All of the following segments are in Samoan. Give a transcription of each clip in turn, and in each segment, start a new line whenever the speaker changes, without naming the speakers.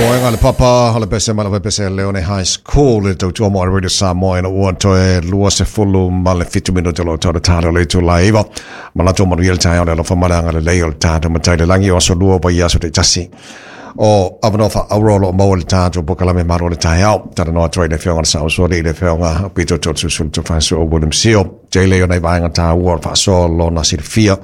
Moega le papa o le pese ma le pese Leone High School le tautua mo Radio Samoa ina ua toe 27 minute o lo tau le tala o le itula e 9. Manatu o manuia le taeao le alofa ma le agalelei o le tatou Matai i le lagi o aso lua o vaiaso taitasi. O avanoa faaauuro o lo o maua i le tatou polokalame malo o le taeao. Talanoa atu ai le Afioga i le Saosualii i le Afioga Pito Toeolesulusulu Tofaeosoa William Sio. Tele o nai vaega taua o le faasoa lona silafia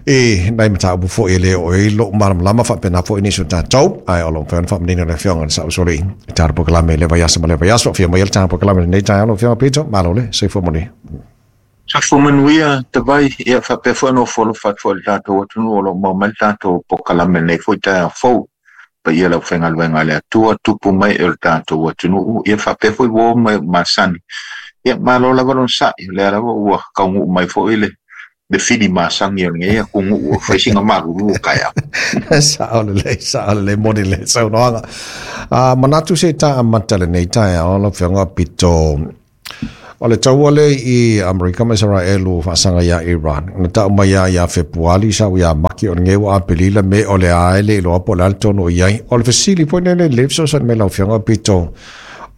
i nai mataupu foi e le oo i ai lou malamalama faapena foi nisi o tatou, ae o lo o mafai ona faamanino le Afioga i le Saosualii i tatou polokalame i lea vaiaso ma lea vaiaso. Afio mai le tatou polokalame i lenei taeao lau Afioga Pito, malo le soifua manuia.
Soifua manuia Tavai, ia faapea foi ona ofo alofa atu foi i le tatou atunuu o lo o maua mai le tatou polokalame i lenei foi taeao fou. Paia i le aufaigaluega a le Atua, tupu mai e o le tatou atunuu, ia faapea foi uo ma e masani. Ia malo lava lona sa'i, o lea lava ua taunuu mai foi le le fili masani o lenei atunuu ua fai sina malulu o taeao.
Sao lelei, sao lelei, moni le saunoaga. Manatu se i ta amata lenei taeao lau Afioga Pito. O le taua lea i Amerika ma Isaraelu ua faasaga iā Iran, na tau mai lava ia Fepuali sa o ia Maki o lenei ua Apelila me o le a e le iloa po o le a le tonu o i ai. O le fesili foi lenei lelei fesoasoani mai lau Afioga Pito,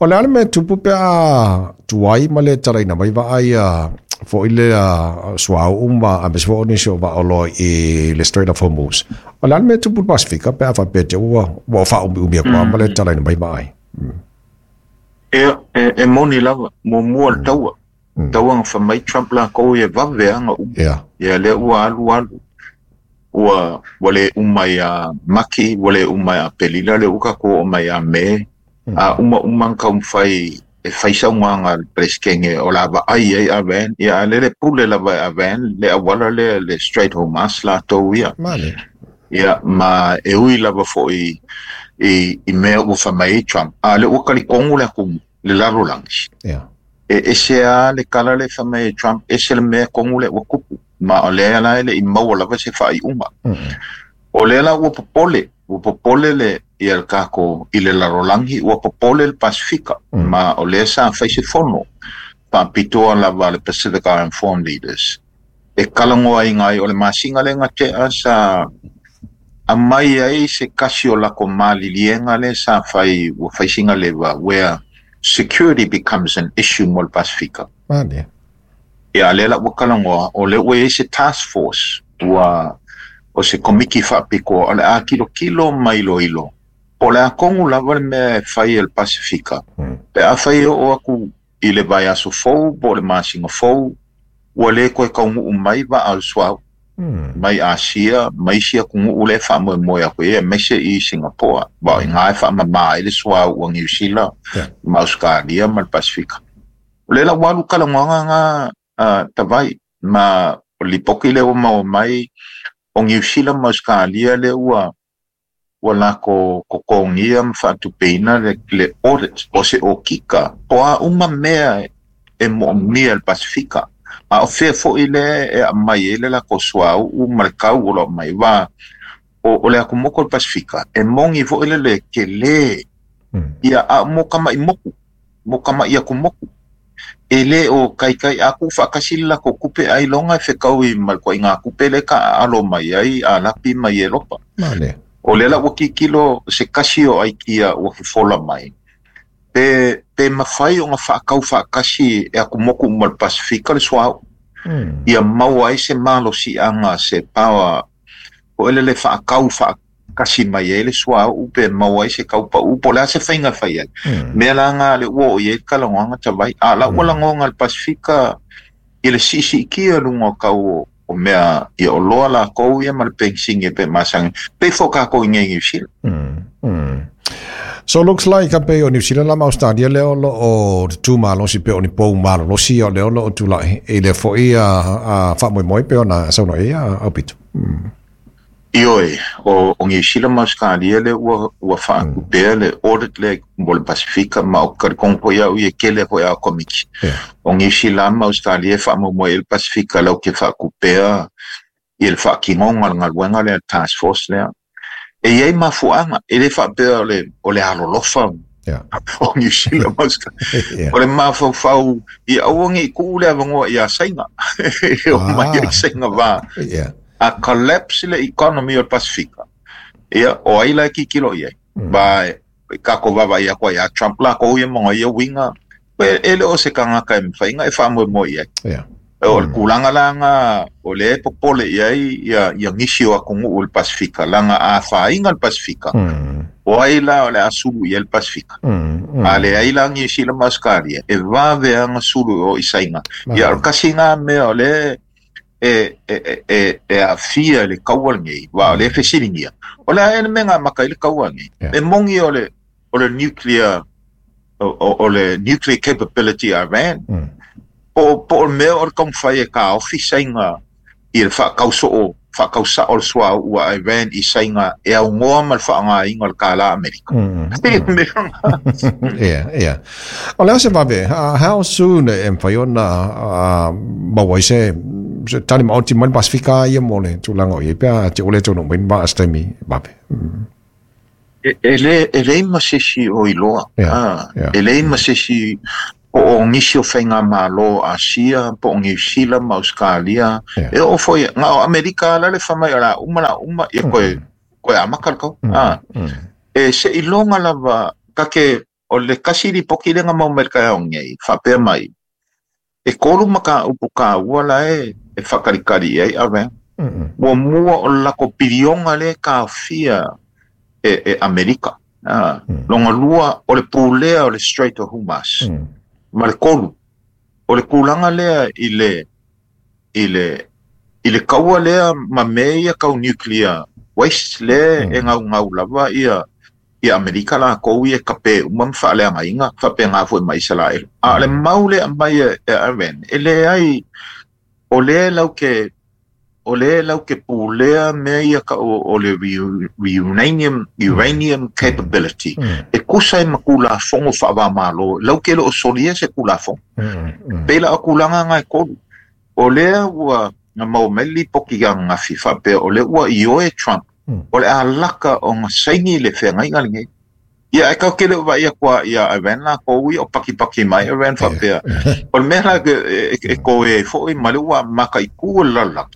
o le a le mea e tupu pe a tuai ma le talaina mai vaa ia foi lea suauu ma aemaise foi o nisi o vaa oloa i le Strait of Hormuz. O le a le mea e tupu i le Pasefika pe a faapea te ua ua faaumiumi atu lava ma le talaina mai vaa ai?
Ia, e moni lava, muamua le taua. Taua na fai mai Trump lakou ia e vave lava ona uma. Ia lea ua alu alu, ua ua le uma ia Maki, ua le uma ia Aperila, lea ua tatou oo mai ia Me, a uma uma ona taumafai e fai saunoaga a le Peresetene o le a vaai ai Iran, ia a o lea e pule lava e Iran le auala lea le Strait Hormuz latou ia. Ia, ma e ui lava foi i, i mea ua fai mai ai Trump, a o lea ua talitonu le atunuu, le lalolagi. E ese lava le tala lea e fai mai e Trump, ese le mea tonu lea ua tupu, ma o lea la e le i maua lava se faaiuga. O lea la ua popole, ua popole le, ia le tatou i le lalolagi, ua popole le Pasefika, ma o lea sa fai se fono faapitoa lava a le Pacific Island Forum Leaders, e talanoaina ai, o le masina lea na tea sa aumai ai se tasi o latou maliliega lea sa fai, ua fai sina leva, where security becomes an issue mo le Pasefika.
Mane.
Ia, lea la ua talanoa, o lea ua i ai se task force, ua, o se komiti faapitoa, o le a tilotilo ma iloilo, po o le a tonu lava le mea e fai e le Pasefika, pe afai e oo atu i le vaiaso fou po o le masina fou, ua le toe taunuu mai vaa o le suauu mai Asia ma isi atunuu lea e faamoemoe atu i ai, aemaise i Singapoa, aua o i ina e faamama ai le suauu a Niu Sila ma Ausetalia ma le Pasefika. O lea la ua alu talanoaga na Tavai, ma o le lipoti lea ua maua mai, o Niu Sila ma Ausetalia lea ua ua lako totogia ma faatupeina le audit o se okika o a uma mea e moomia e le Pasefika, a o fea foi lea e aumai ai le latou suauu ma le tau o lo o aumai. Aua o le atumotu o le Pasefika, e moni foi le le tele, ia, a o mo tama'i motu, mo tama'i atumotu, e le o taitai a tuufaatasi le latou tupe ailoga e fetaui ma le ituaiga tupe lea e taaalo mai ai Arapi ma Ieropa. O lea la ua tilotilo se tasi o aikia ua fofola mai, pe, pe mafai ona faatau faatasi e atumotu uma o le Pasefika le suauu, ia maua ai se malosiaga, se power foi lele faatau faatasi mai ai le suauu pe maua ai se tau pau po o le a se faiga e fai ai. Mea la na lea ua oo i ai le talanoaga Tavai. A o la ua lagona e le Pasefika i le siisiitia i luga o tau o mea ia oloa latou ia ma le penisini e pei masani. Pei foi o tatou i inei i Niu Sila.
So looks like a pei o Niu Sila la ma Australia lea o lo o tutū malosi pei o ni pou malolosi o lea o lo o tulai i lea foi a faamoemoe pei ona saunoa i ai a Aupito.
Ioe, o Niu Sila ma Ausetalia lea ua ua faatupea le audit lea mo le Pasefika, ma ou te talitonu foi au ia e tele foi a Komiti. O Niu Sila ma Ausetalia e faamoemoe i ai le Pasefika latou te faatupea i le faatinoga o le galuega lea, le task force lea. E i ai mafuaaga, e le faapea o le, o le alolofa o Niu Sila ma Ausetalia. O le mafaufau ia aua ne i tuu le avanoa ia Saina e omai ai Saina va. A collapse le economy o le Pasefika, ia, o ai la e tilotilo i ai? Ba e kako vava ia koa ia Trump la ko ia mo ia winga e le o se kangaka e mawhainga e wha moe ia.
Yeah.
O le kūlanga langa o le popole ia ia ia ngisi o akongu o le Pasifika langa a whainga le Pasifika. O ai la o le asulu ia le Pasifika. A le ai la ngisi la Australia e vave anga sulu o isainga. Ia o kasi ngā mea o le e a fia le kaua nei wa le fesilingia. O le ae me ngā maka i le kaua nei. E mongi o le nuclear o le nuclear capability Iran. Po mea o le kaumawhai e ka ofisainga i le whakausa o le sua ua Iran i sainga e au ngoa ma le whaangainga o le kāla Amerika.
Yeah, yeah. O le ase wawe, how soon e mwhai ona mawai se tani maoti mai Pasifika ia mo le tūlanga o ia pia te ole tōno mai ma astaimi wawe.
E lei masesi o iloa. E lei masesi po o ngisi o whainga malo Asia, po o New Zealand ma Australia. E o foi, ngā o Amerika la le whamai o la uma, ia koe amaka kau. E se ilonga lava, kake o le kasiri poki lenga mau Amerika e o ngei, whapea mai. E kolu maka upu ka ua la e whakarikari e awe. Mua mua o lako pirionga le ka fia e Amerika. Longa lua o le pūlea o le Strait of Hormuz. Ma le kolu o le kūlanga lea i le kaua lea ma mea ia kau nuclear waste le e ngau ngau lava ia Amerika la kou ia kape uma mwhaaleanga inga whape ngā fue ma Israel. A le mau le amai e Iran e le ai o le lau ke pūlea mea ia ka o le uranium capability. E kusa e makula fongo whawa malo. Lau ke lo o solia se kula fongo. Pela o kulanga ngai kolu. O lea ua ngā mau meli poki ngā ngafi whapea. O le ua ioe Trump. O le alaka o ngā saini le whea ngai ngai ngai. Ia e kau kele ua ia kua ia Iran la kou ia o paki mai Iran whapea. O le mea la e koe e fo i male ua maka i kua lala.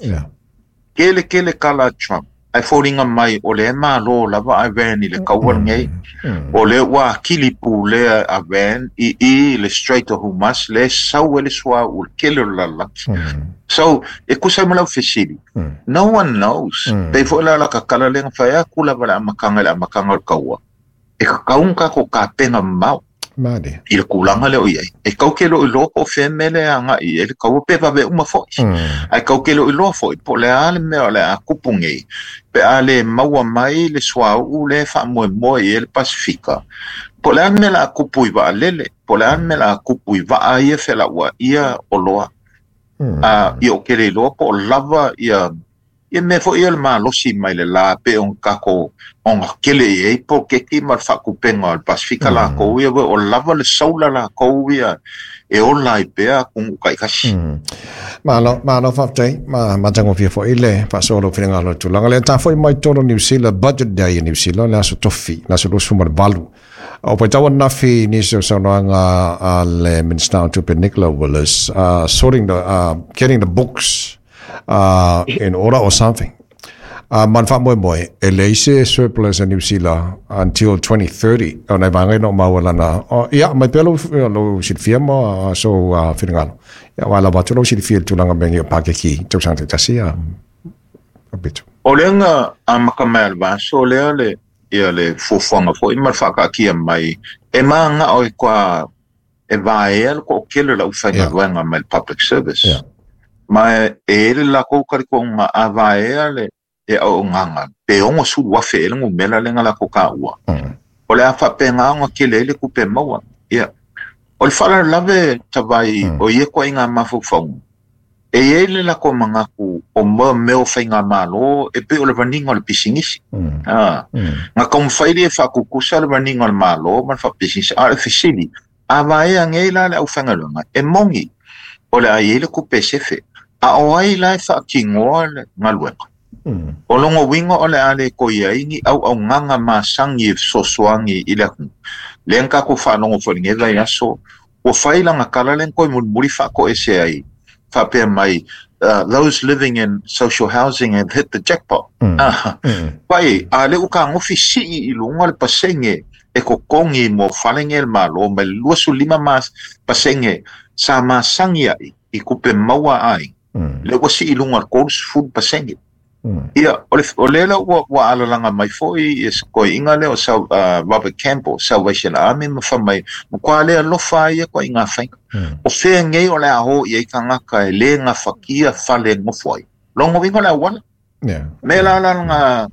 Kele kala Trump. Ai fōringa mai o le malo lava Iran i le kaua nei. O le ua kilipu lea Iran i le Strait of Hormuz le sau ele sua u kele lala. So e kusa malau fesili. No one knows. Pe fo la ka kala lenga whaea kula wala amakanga le amakanga o kaua. E ka kaunga ko ka penga mau.
Mani.
I le kūlanga leo iai. E kau ke lo i loa po whemele anga i e le kaua pe wawe uma foi. Ai kau ke lo i loa foi. Po le ale mea o le a kupu ngei. Pe ale maua mai le sua u le wha moe moe i e le Pasifika. Po le ale mea la a kupu i waa lele. Po le ale mea la a kupu i waa ia whela ua ia o loa. I o kere loa po o lava ia ia me fo ia le malosi mai le la pe on kako o ngā kele i ei po keki ma le whakupenga o le Pasifika la kou ia o lava le saula la kou ia e ola i pea kungu kai kasi.
Malo whaptei, ma tango fia fo ile whasolo whiringa lo tūlanga. Le tā foi mai toro New Zealand, budget day in New Zealand, le aso tofi, le aso lusu ma le valu. O pai tawa nafi nisi o saunoanga a le Minister o Tupe Nicola Willis, sorting the, getting the books in order or something. Man wha moe moe, e leise surplus in New Zealand until 2030. O nei whangai no maualana. Ia, mai pelo lo silfia mo so whiringalo. Ia, wala watu lo silfia tūlanga mengi o pākeki tau sangte tasi a bitu.
O leanga a makamea le vaso, o lea le ia le fuafuaga foi ma le faakaakia mai e maga o e kua e vaea le koʻokele lau faigaluega mai le public service. Ma e ele lakou kalikoga a vaea le e auaugaga pe 60,000 e le gumela lega lakou kaua. O le a faapegaga kele ai le kupe maua. Ia o le faalalave tavai o ia koaiga mafaufauga e iai le lako magaku o mo mea o faigamālō e pei o le vaniga o le pisinisi. Ga kaumafai le faakukusa le vaniga o le mālō ma le faapisinisi a o le fesili a vaea agei la le aufaigaluega e mogi o le ai ai le kupe sefe a o ai la e faakigoa le galuega. O logo uiga o le a le koi ai ni auaugaga masagi e fesoasoagi i le atunuu lea na tatou faalogo foi i lenei vaiaso ua fai laga kala lea na toe mulimuli faakoese ai faapea mai Those living in social housing have hit the jackpot. Pai, a le ua kagofi sii i luga le pasege e totogi mo fale nei a le Malo mai le 25 mas pasege sa masagi ai i tupe maua a aiga, lea ua sii i luga i le 30%. Ia, o le o lea la ua ua alalaga mai foi ia se toeaiga lea o Sal, Robert Campbell, Salvation Army ma fai mai, matua le alofa ai ia ituaiga faiga. O fea nei o le a o i ai tagata e le gafatia fale e nofo ai? Lona uiga o le auala. Mea la la lana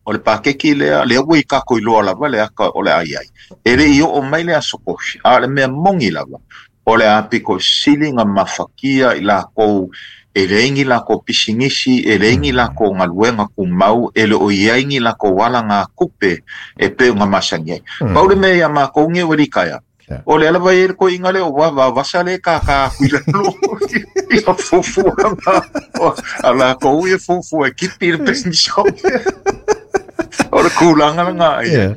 o le paketi lea, lea ua i tatou iloa lava le ata o le a i ai. E le i oo mai le aso kofi, a o le mea moni lava, o le a pito sili ona mafatia i latou e leai ni latou pisinisi, e leai ni latou galuega tumau, e le o i ai ni latou alagatupe e pei ona masani ai. Pau le mea ia matou nei ua litaea, o lea lava e i ai le toeaina lea o Vavasa lea e tātā atu i lalo i ka fuafuaga a latou ia fuafua e kipi le penisione. O le tulaga lena ia.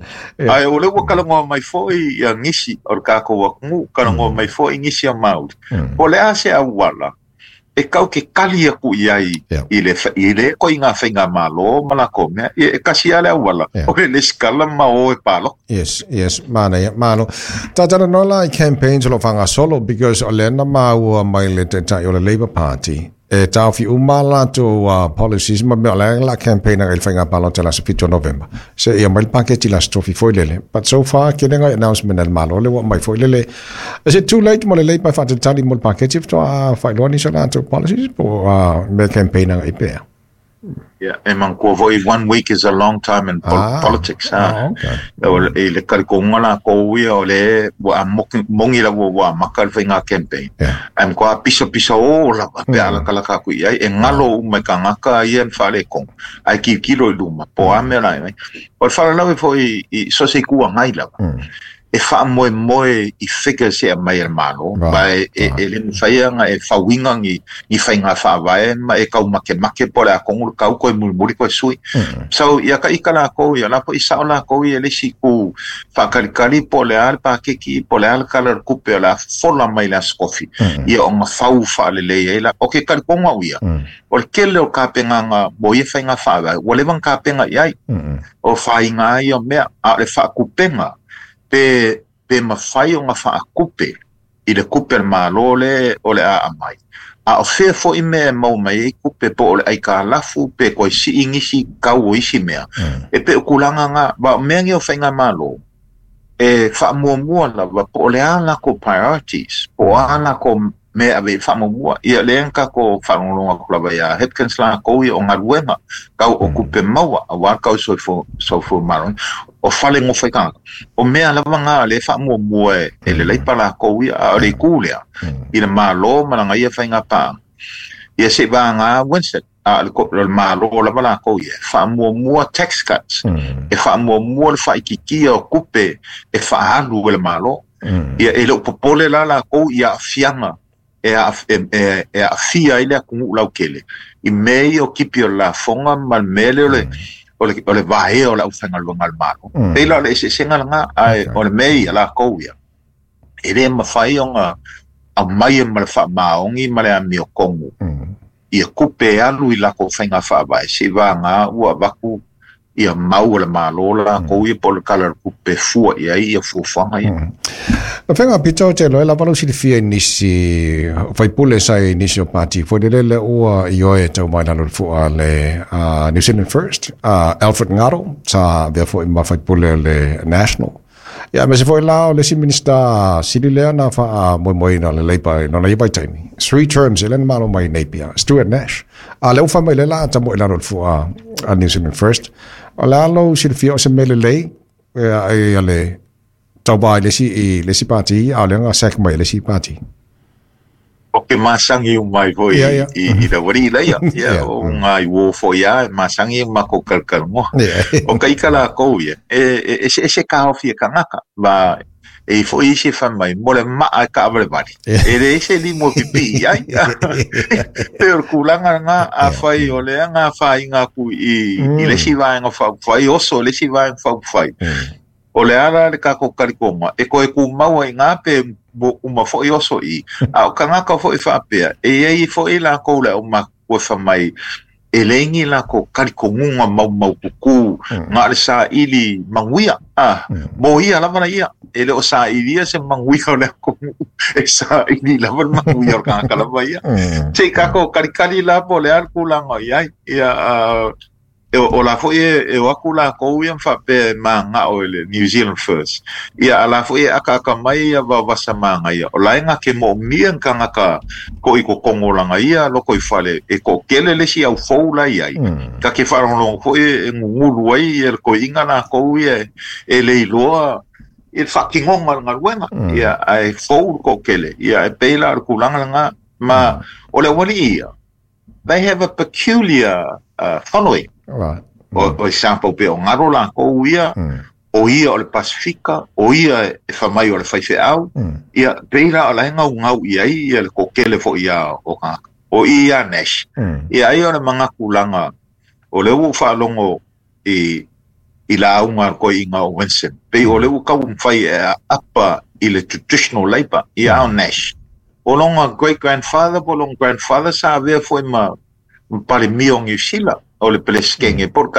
Ae o lea ua talanoa mai foi ia nisi o le tatou atunuu, talanoa mai foi nisi a Māori. Po o le a se auala e tau te tali atu i ai i le i le ituaiga faigamalo ma latou mea. Ia, e tasi lava le auala, o le lesitala ma o e palota.
Yes, yes, manaia, malo. Talanoa la i campaigns o lo o faagasolo, because o lea na maua mai le taitai o le Labour Party, e taofi uma a latou policies ma mea o le a campaign agai i le faiga palota i le aso 7 o Novema. Se ia mai le paketi le aso tofi foi lele. But so far, ke lenga announcement a le Malo le ua mai foi lele. Is it too late mo le Labour e faatalitali mo le paketi faatoa faailoa nisi o latou policies po mea campaign agai pea?
Yeah, e manatua foi, one week is a long time in politics. Ah, okay. O i le talitonuga latou ia o le ua moni lava ua amata le faiga campaign. Yeah. Ae matua pisapisa o lava pe a latalata atu i ai, e galo uma i tagata ia na faaletonu, ae tilotilo i luma, po o a mea la e fai. O le faalavelave foi i so o se itu agai lava, e faamoemoe i figures e aumai e le Malo, ma e, e le mafai ona e fauina ni, ni faiga faavae ma e tau makemake po o le a tonu le tau toe mulimuli toe sui. So, ia ka ika lakou ia, la foi sao lakou ia le isi itu faatalitali po o le a le paketi, po o le a le tala o le tupe o le a fofola mai le Aso Tofi, ia ona fau faalelei ai la. O ke talitonu au ia, o le tele o tapenaga mo ia faiga faavae, ua leva ona tapena i ai. O faiga ia o mea, a o le faatupega, pe, pe mafai ona faatupe i le tupe a le Malo le o le a aumai. A o fea foi mea e maua mai ai tupe, po o le aitalafu, pe toe sii nisi tau o isi mea, e pei o tulaga na. Aua o mea nei o faigamalo, e faamuamua lava po o le a latou priorities, po o a latou mea e ave i ai le faamuamua. Ia lea na tatou faalogologo atu lava ia Hipkins latou ia o galuega tau o tupe maua aua le tau soifua maloloina, o fale nofo ai tagata. O mea lava na lea e faamuamua e le Leipa latou ia, a o le itu lea i le Malo ma lana ia faiga paaga, ia se i vagana Winston, a o le Malo lava latou ia, e faamuamua tax cuts, e faamuamua le faaitiitia o tupe e faaalu e le Malo. Ia e le o popole la latou i aafiaga e aafia ai le atunuu lautele i mea ia o tipi o le lafoga ma le mea lea o le o le vaea o le aufaigaluega a le Malo. E pei la o le eseesega lena, ae o le mea ia latou ia, e le mafai ona aumaia ma le faamaoni ma le amiotonu ia tupe e alu i latou faiga faavae, seivagana ua avatu ia mau a le Malo latou ia po o le Tala o le Tupe e fua i ai ia fuafuaga ia.
Na faiga pito o te loe lava lou silafia i nisi faipule sa i nisi o pati foi lele le ua i oe tau mai lalo le fua le New Zealand First, Alfred Ngaro, sa avea foi ma faipule o le National. Ia, aemaise foi la o le isi Minista sili lea na faamoemoeina le Labour i lona ia vaitaimi. Three terms e le na malo mai Napier, Stuart Nash. A lea ua fai mai lea la a tamoe i lalo o le fua a New Zealand First. O le a lou silafia o se mea lelei ia le tauva i le isi, i le isi pati, a o lea na sack mai e le isi pati.
O ke masangi uma ai foi i le aualii laia. Ia, o ngā i uō foi a e masangi e makou kalakalamoa. O ka ika lakou ia, e eseese kaofi e kangaka, ma e i foi isi e fai mai, mo le maa e kaavalevale, e leai se limu e pipii i ai. Pei o le tulaga lena, afai o lea na afaina atu i le isi vaega faaupufai, oso i le isi vaega faaupufai, o le a la le tatou talitonuga, e toe tumau ai i ina pe? uma fo'i oso i a o kangaka fo'i faapea e iai fo'i lakou le aumakua fai mai e leai ni lakou talitonuga maumaututu na o le saili manuia a mo ia lava laia e le o sailia se manuia o le atunuu e saili lava le manuia o le tagata lava ia se i tatou kalikali la po o le a le tulaga o i ai ia o la fo'i e o atu lakou ia ma faapea e mana'o i le New Zealand First ia a la fo'i e akaaka mai ia vaovasa magaia o la e na te mo'omia ni tagata to'i totonu o lana ia lotoifale e to'atele le isi aufou la i ai ta te faalogologo fo'i e gugulu ai ia le toeaina lakou ia e le iloa i le faatinoga o le galuega ia ae fou le to'atele ia e pei la o le tulaga lena ma o le auali'i ia they have a peculiar following. O example pe o galo lakou ia, o ia o le Pasifika, o ia e fai mai o le faifeau, ia pei la o la e gaugau i ai ia le toatele fo'i ia o tagata. O i ia Nash. Ia ai o le manatulaga, o lea ua ou faalogo i lauga a le toeaina o Winston, pei o lea ua taumafai e aapa i le traditional Labour, ia a o Nash. O lona great grandfather po o lona grandfather sa avea foi ma Palemia o Niu Sila, o le Peresetene po o le